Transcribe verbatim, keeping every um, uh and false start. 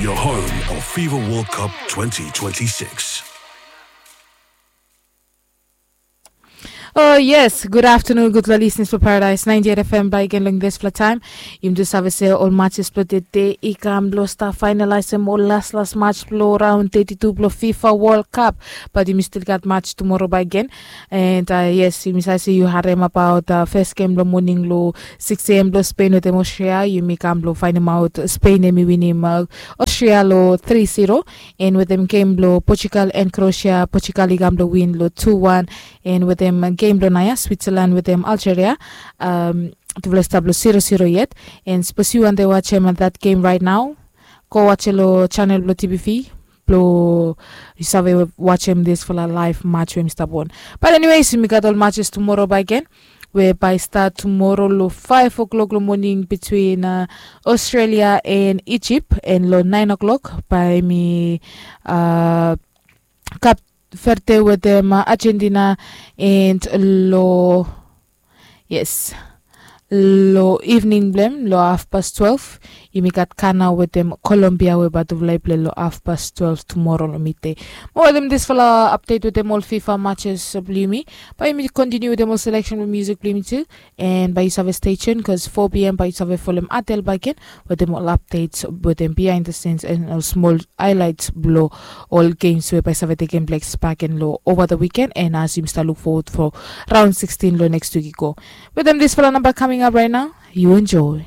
Your home of FIFA World Cup twenty twenty-six. Oh yes, good afternoon, gudfala listeners for Paradise ninety-eight F M. Back again long this fla time. Yumi do save se ol matches blo tede i kam blo stap finalize em ol las las match blo round thirty-two blo FIFA World Cup. But yumi still gat match tomorrow back again. And uh, yes, yumi save se yu harem about uh, first game blo morning lo six a.m. blo Spain wetem Austria. Yumi kam blo findem out Spain em i winim uh, Austria lo three zero. And wetem game blo Portugal and Croatia, Portugal i kam blo win lo two one. And wetem game blo naya Switzerland wetem Algeria, um, tufala i stap lo zero zero yet. And sapos yu wante wajem that game right now, go wajem lo channel blo T B V blo yu save wajem this fala live match we mi stap on. But anyways, mi gat ol matches tomorrow back again. We bai start tomorrow lo five o'clock lo morning between uh, Australia and Egypt, and lo nine o'clock bai mi uh, Cape Verde wetem uh, Argentina, and lo yes lo evening blem lo half past twelve yumi gat Ghana wetem Colombia we bai tufala i play lo half past twelve tomorrow lo midday. Mo wetem this fala update wetem ol FIFA matches blo yumi, bai yumi continue wetem ol selection blo music blo yumi tu. And bai yu save stay tuned cause four p.m. bai yu save folem Adel back again wetem ol updates wetem behind the scenes and ol small highlights blo ol games we bai save tekem place back again lo over the weekend. And as yumi stap look forward for round sixteen lo next week i go. Wetem this fala number coming up right now, you enjoy.